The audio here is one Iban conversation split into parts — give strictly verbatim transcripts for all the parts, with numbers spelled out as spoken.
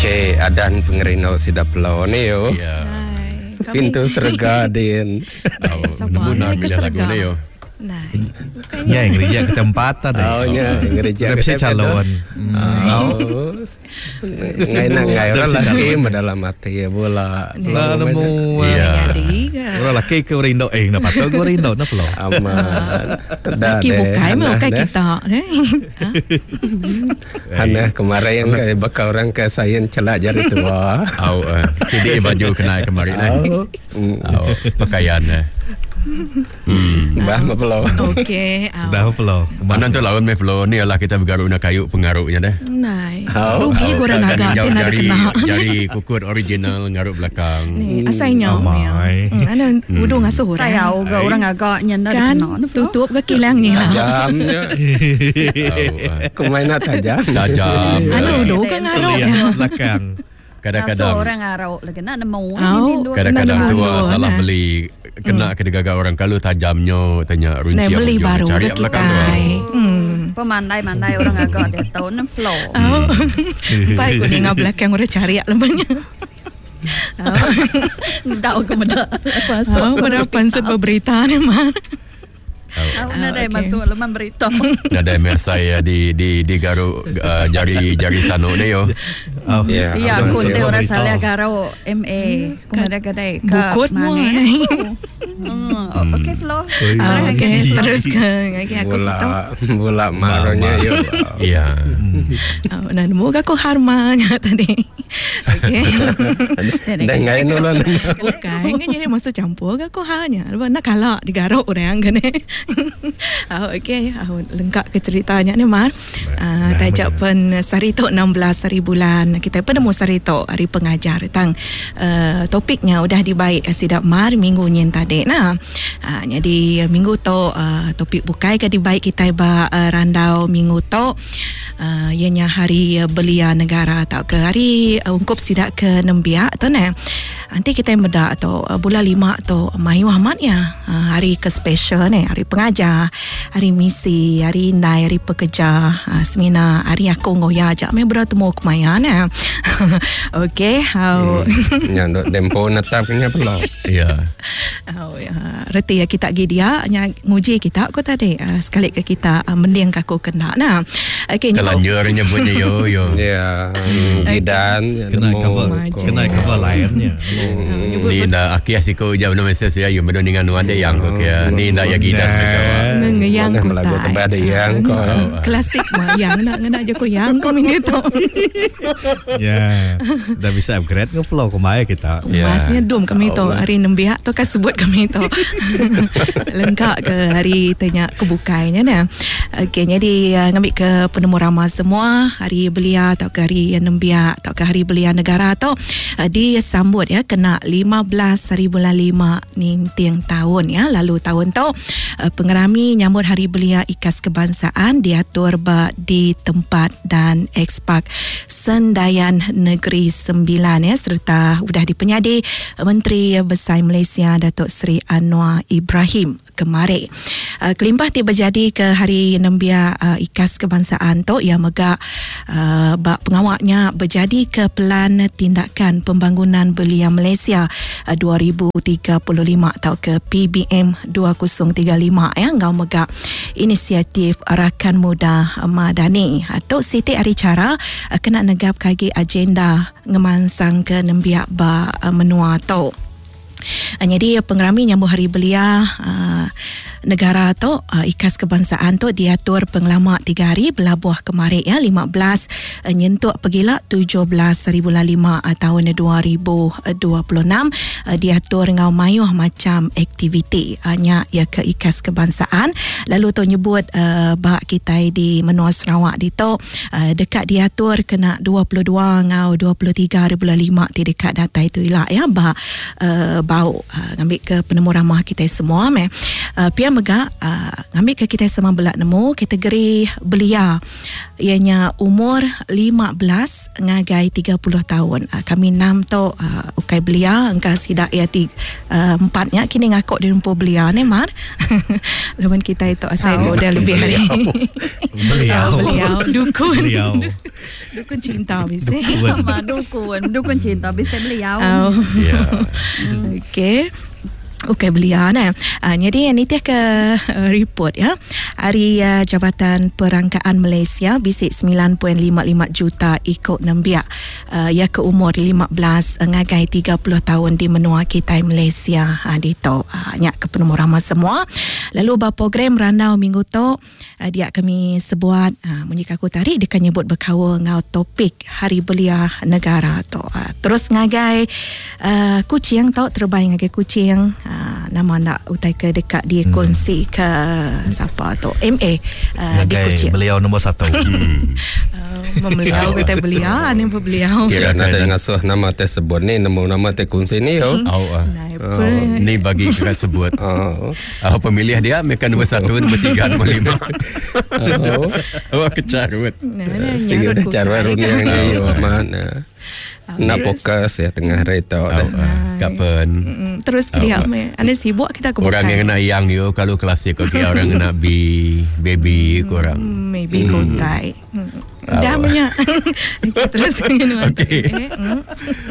Cik adan pengerindu sida pelau ni yo. Ya. Pintu serega din. Nemu nak milih lagu ni yo. Nah, Ya, ngereja ke tempat tadi. Oh, nya ngereja ke tempat calon. Oh. Ngai nak ngai orang laki dalam hati ya bola. Lah nemu. Ya. Orang laki ke rindu eh nak patut gua rindu nak pelo. Aman. Laki bukai mah bukan kita. Hana kemarin yang ke bakal orang ke sains celak jari tua. Au, jadi baju kena kemarin eh. Au, pakaian eh. Hmm. Bah mapelo. Okey. Dah mapelo. Mana tu lawan mapelo ni lah kita bergaruk nak kayu pengaruhnya deh. Nai. Rugi korang agak kena kena. Jari kukut original ngaruk belakang. Ni asalnya. Ana udung asuh orang. Saya juga orang agak nyanda kan tutup ke kilangnya. Tajamnya. Kemain nak tajam. Tajam. Ana udung ke ngaruk belakang. Kadang-kadang orang ngaruk lagi nak nemu. Kadang-kadang tua salah beli kena ke gagak orang kalau tajamnya tanya runci beli baru cari belakang tu. Hmm. Pemandai-mandai orang agak dia tahu nem flow. Oh. Baik ku dengar belakang orang cari lembanya. Dak aku meda. Oh, pada pansut berita ni mah. Oh, nadai masuk leman berita. Nadai masa saya di di di garuk uh, jari jari sanuk ni yo. Oh. Ya, yeah, aku tu orang salah garuk M A. Kumada kadai ke bukut mu. Hmm, okey flow. Okey, teruskan. Okey aku bola bola maronya yo. Ya. Oh, nah nemu aku harmanya tadi. Okey. Dan ngai nulon. Bukan, jadi masuk campur aku hanya. Nak kalah digaruk orang kan. Oh, okey, oh, lengkap ke ceritanya ni Mar. Uh, tajak pen sehari tu enam belas hari bulan. Kita penemu sehari tu hari pengajar tang uh, topiknya udah dibaik sidak Mar minggu nyin tadi nah. Uh, jadi minggu tu uh, topik bukai ke dibaik kita ba uh, randau minggu tu uh, ianya hari belia negara atau ke hari uh, ungkup sidak ke nembiak tu nah. Nanti kita medak tu uh, bulan lima tu mayu amat ya uh, hari ke special ni, hari pengajar, hari misi, hari indai, hari pekerja, uh, semina hari aku ngoya ajak me bertemu kemaya nah. Okey, how hmm. Nya dok tempo netapnya pula. Ya. Oh ya, reti ya kita gi dia nya nguji kita ko tadi uh, sekali ke kita uh, mending aku kena nah. Okey, kelanjurnya punya yo yo. Ya, gidan kena cover kena cover lainnya. Ni dah akhir siku jam enam mesej saya yo medo dengan nuan dia yang okey. Ni dah ya gidan ngeyang ko lagu tebal ada yang ko klasik mah yang nak ngena je ko yang ko minggu tu. Ya, dah bisa upgrade ke flow kemaya kita. Masnya dum kami tu hari nembiak tu kan sebut kami tu. Lengkap ke hari tanya kebukainya nah. Okey, jadi ngambil ke penemu ramah semua hari belia atau ke hari nembiak atau ke hari belia negara tu disambut ya kena lima belas hari bulan lima ninting tahun ya. Lalu tahun tu pengerami nyambut hari belia ikas kebangsaan diatur ba di tempat dan ekspak Sendayan Negeri Sembilan ya, serta sudah dipenyadi Menteri Besar Malaysia Datuk Seri Anwar Ibrahim kemarin. Uh, kelimpah ti berjadi ke hari nembiak uh, ikas kebangsaan tu yang megak uh, bak pengawaknya berjadi ke Pelan Tindakan Pembangunan Belia Malaysia uh, dua ribu tiga puluh lima atau ke P B M dua ribu tiga puluh lima ya, ngau megak inisiatif Rakan Muda Madani atau Siti hari cara uh, kena negap kagi agenda ngemansang ke nembiak ba uh, menua tu. Uh, jadi pengerami nyambut hari belia uh, negara tu uh, ikas kebangsaan tu diatur pengelama tiga hari belabuh kemarin ya lima belas uh, nyentuk pergila tujuh belas hari bulan lima uh, tahun dua ribu dua puluh enam uh, diatur ngau mayuh macam aktiviti uh, nya ya ke ikas kebangsaan. Lalu tu nyebut uh, bak kita di menua Sarawak di tu uh, dekat diatur kena dua puluh dua ngau dua puluh tiga hari bulan lima ti dekat datai tu ilak ya bak uh, bau uh, ngambil ke penemu ramah kita semua meh. Uh, pia mega uh, ngambil ke kita semua belak nemu kategori belia ianya umur lima belas ngagai tiga puluh tahun. Uh, kami enam tu uh, ukai belia engka sidak ia tiga, uh, empatnya kini ngakok di rumput belia ni mar. Lawan kita itu asal oh. Udah lebih hari. Beliau. Beliau dukun. Beliau. Dukun cinta bisa. Dukun. Dukun, dukun cinta bisa beliau. Oh. Ya. Okey. Okey belia nah. Uh, jadi nitih ke uh, report ya. Hari uh, Jabatan Perangkaan Malaysia bisik sembilan perpuluhan lima lima juta ikut nembiak uh, ya ke umur lima belas uh, ngagai tiga puluh tahun di menua kita Malaysia uh, di tu uh, nyak ke penemu ramah semua. Lalu ba program randau minggu tu uh, dia kami sebuat uh, munyi aku tarik dia nyebut berkaul ngau topik Hari Belia Negara tu. Uh, terus ngagai uh, kucing tau terbang ngagai kucing. Uh, nama nak utai ke dekat dia hmm. kongsi ke siapa tu M A uh, di kucing. Beliau nombor satu. Hmm. uh, membeliau kita beliau ni beliau. Kira nak ngasuh nama tersebut ni nama nama te kongsi ni yo. Hmm. Oh, uh. Oh. Ni bagi kena sebut. Oh. Uh, pemilih dia mereka nombor satu, nombor tiga, nombor lima. Oh, oh kecarut. Nah, sehingga dah carut ni yo mana. Nak fokus ya tengah hari tu dah. Kapan? Terus kira me. Ane sibuk kita ke orang yang kena yang yo kalau klasik okey orang kena B baby kurang. Maybe kotai. Dah punya. Terus okey.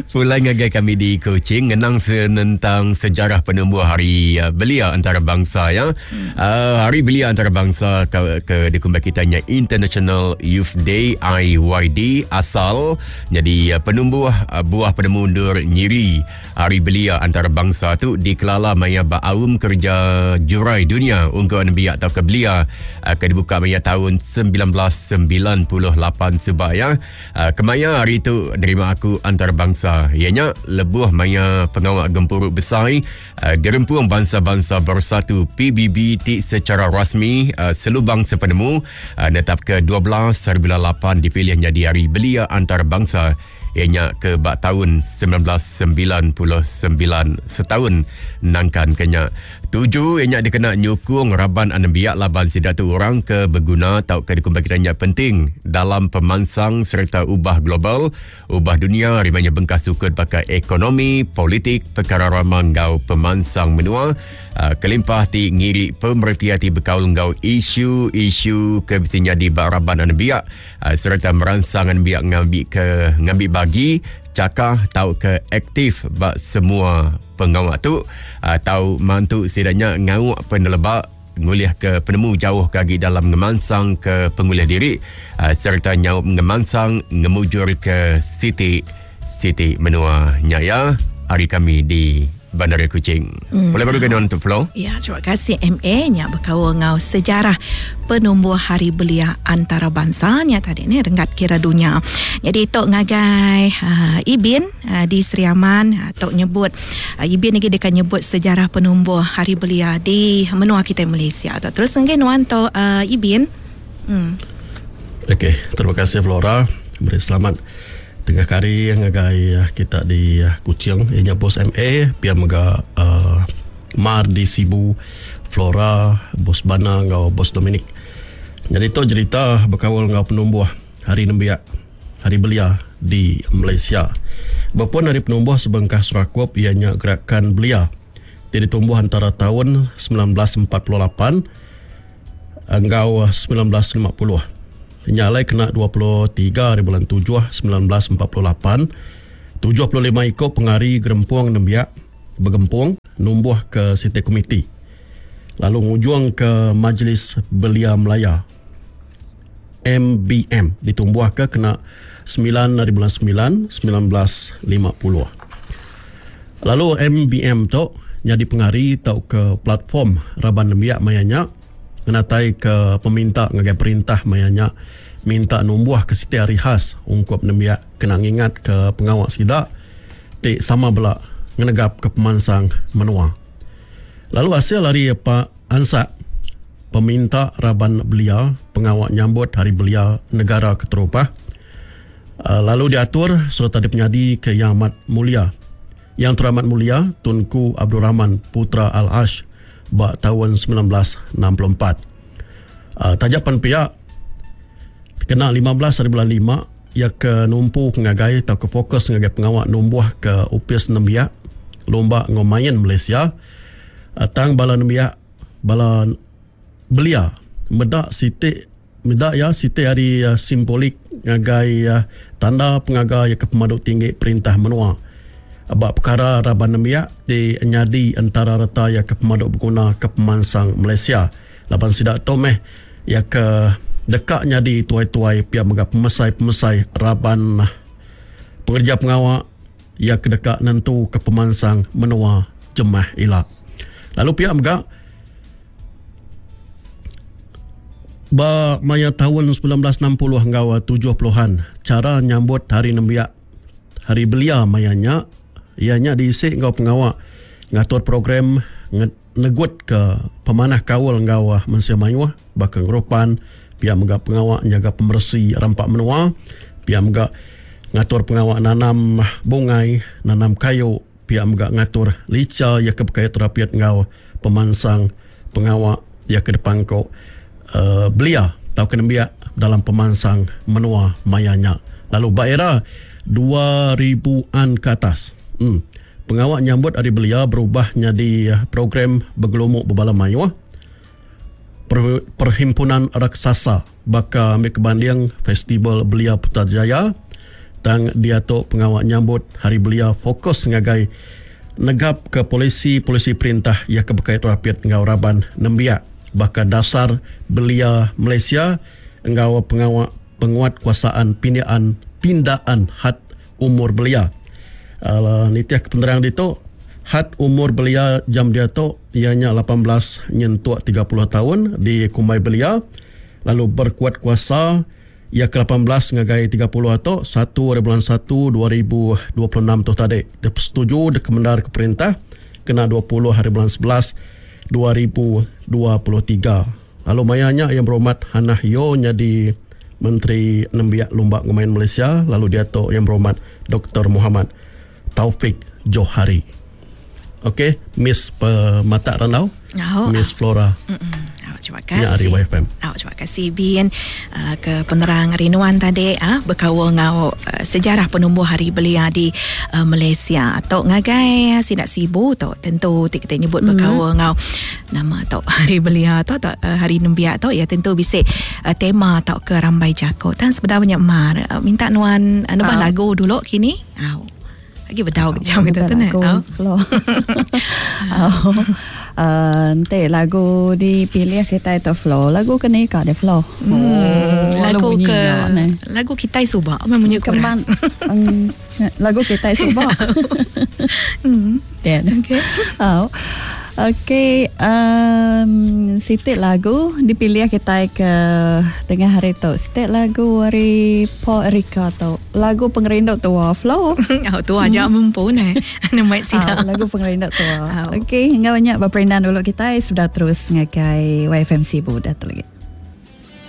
Pulang ngagai kami di Kuching ngenang tentang sejarah penumbuh Hari Belia Antarabangsa ya. Hmm. Uh, Hari Belia Antarabangsa ke, ke dikumbai kitanya International Youth Day I Y D asal jadi penumbuh buah penemu undur nyiri Hari Belia Antarabangsa tu dikelala maya baaum kerja jurai dunia untuk nembiak atau ke belia ke dibuka maya tahun sembilan belas sembilan puluh lapan sebab ya. Kemaya hari tu nerima aku antarabangsa ianya lebuh maya pengawal gempuruk besar Gerempung Bangsa-Bangsa Bersatu P B B ti secara rasmi selubang sepenemu netap ke dua belas hari bulan lapan dipilih jadi Hari Belia Antarabangsa ianya ke bak tahun sembilan belas sembilan puluh sembilan setahun nangkan kenya tuju ianya dikena nyukung raban anembiak laban sidatu orang ke berguna tau ke dikumbai kitanya penting dalam pemansang serta ubah global ubah dunia rimanya bengkas sukut pakai ekonomi politik perkara ramang ngau pemansang menua uh, kelimpah ti ngiri pemerhati ti bekaul ngau isu-isu ke mestinya di bak raban anembiak uh, serta merangsang anembiak ngambil ke ngambil bagi cakah tau ke aktif bak semua pengawak tu atau mantu sidanya ngawak penelebak ngulih ke penemu jauh kagi dalam ngemansang ke pengulih diri serta nyaup ngemansang ngemujur ke siti siti menua nyaya hari kami di Bandar Kuching. Hmm. Boleh baru kena untuk flow? Ya, terima kasih M A nya berkaul ngau sejarah penumbuh Hari Belia Antarabangsa nya tadi ni renggat kira dunia. Jadi tok ngagai uh, Ibin uh, di Sri Aman uh, tok nyebut uh, Ibin lagi dekat nyebut sejarah penumbuh Hari Belia di menua kita Malaysia. Tok terus ngai nuan tok uh, Ibin. Hmm. Okey, terima kasih Flora. Beri selamat tengah kari ngagai kita di Kuching ianya bos M A pia mega uh, Mar di Sibu Flora bos Bana ngau bos Dominic. Jadi tu cerita berkawal ngau penumbuh Hari Nembiak Hari Belia di Malaysia. Berpun hari penumbuh sebengkah serakup ianya gerakan belia ti ditumbuh antara tahun sembilan belas empat puluh lapan ngau sembilan belas lima puluh. Nyalai kena dua puluh tiga hari bulan tujuh sembilan belas empat puluh lapan tujuh puluh lima ikut pengari gerempung nembiak bergempung numbuh ke Siti Komiti lalu ngujung ke Majlis Belia Melaya M B M ditumbuh ke kena sembilan hari bulan sembilan sembilan belas lima puluh. Lalu M B M tu jadi pengari tau ke platform raban nembiak mayanya ngenatai ke peminta ngagai perintah mayanya minta numbuh ke siti hari khas ungkup nembiak kena ngingat ke pengawak sidak ti sama bela ngenegap ke pemansang menua. Lalu hasil hari Pak Ansak peminta raban belia pengawak nyambut Hari Belia Negara Keterupah lalu diatur serta dipenyadi ke Yang Amat Mulia Yang Teramat Mulia Tunku Abdul Rahman Putra Al-Ash bak tahun sembilan belas enam puluh empat. Uh, tajapan pihak kena lima belas hari bulan lima ia ke numpu ngagai atau ke fokus ngagai pengawak numbuh ke upis nembiak lomba ngomain Malaysia uh, tang bala nembiak bala belia medak siti Mida ya siti hari uh, simbolik ngagai uh, tanda pengaga ya ke pemadu tinggi perintah menua. Abak perkara raban nembiak di nyadi antara reta ya ke pemadu berguna ke pemansang Malaysia. Laban sidak tu meh ya ke dekat nyadi tuai-tuai pihak mega pemesai-pemesai raban pengerja pengawak ya ke dekat nentu ke pemansang menua jemah ila. Lalu pihak mega ba maya tahun sembilan belas enam puluh ngau tujuh puluhan cara nyambut hari nembiak hari belia mayanya ianya diisi ngau pengawak ngatur program negut ke pemanah kaul ngau mensia mayuh baka ngerupan pihak mega pengawak nyaga pemersi rampak menua pihak mega ngatur pengawak nanam bungai nanam kayu pihak mega ngatur lica ya ke berkait terapiat ngau pemansang pengawak ya ke depan ko Uh, belia atau kenembiak dalam pemansang menua mayanya. Lalu ba era dua ribuan ke atas, hmm, pengawak nyambut hari belia berubah jadi program bergelumuk berbala mayuh per, perhimpunan raksasa baka ambil kebanding Festival Belia Putrajaya tang dia tu pengawak nyambut hari belia fokus ngagai negap ke polisi-polisi perintah yang berkait rapit ngau raban nembiak bakal dasar belia Malaysia engau pengawak penguat kuasaan pindaan pindaan had umur belia. Uh, nitiah kepenerang ditu had umur belia jam dia tu ianya lapan belas nyentuk tiga puluh tahun di Kumbai Belia lalu berkuat kuasa ia ke lapan belas ngagai tiga puluh atau satu hari bulan satu dua ribu dua puluh enam tu tadi. Dia setuju dia kemendar ke perintah kena dua puluh hari bulan sebelas dua ribu dua puluh tiga. Lalu mayanya yang berhormat Hannah Yeoh jadi Menteri Nembiak Lumba Ngemain Malaysia, lalu dia tu yang berhormat Doktor Muhammad Taufik Johari. Okey, Miss Pematak Randau, oh, Miss Flora. Oh, terima kasih. Ya, Ari Y F M. Oh, terima kasih Bin uh, ke penerang Rinuan tadi ah uh, berkawal ngau uh, sejarah penumbuh hari belia di uh, Malaysia. Tok ngagai sidak Sibu tok tentu kita nyebut mm-hmm. berkawal ngau nama tok hari belia tok tok uh, hari nembiak tok ya tentu bisik uh, tema tok ke Rambai Jako. Tan sebenarnya mar uh, minta nuan uh, nebah uh. lagu dulu kini. Au. Lagi bedau jam kita tu nak. Lagu. Oh. Nanti lagu dipilih kita itu flow. Lagu kena ikat dia flow. Hmm, oh, lagu ke lagu kita subak memang kurang. Lagu kita subak. Hmm. Okey. Oh. Okey, um, sitik lagu dipilih kita ke tengah hari tu. Sitik lagu hari Paul Erika tu. Lagu pengerindu tua flow. Oh, tua aja mampu ni. Nama sida. Oh, lagu pengerindu tua. Oh. Okey, hingga banyak berperindan dulu kita sudah terus ngagai Y F M Sibu dah tu lagi.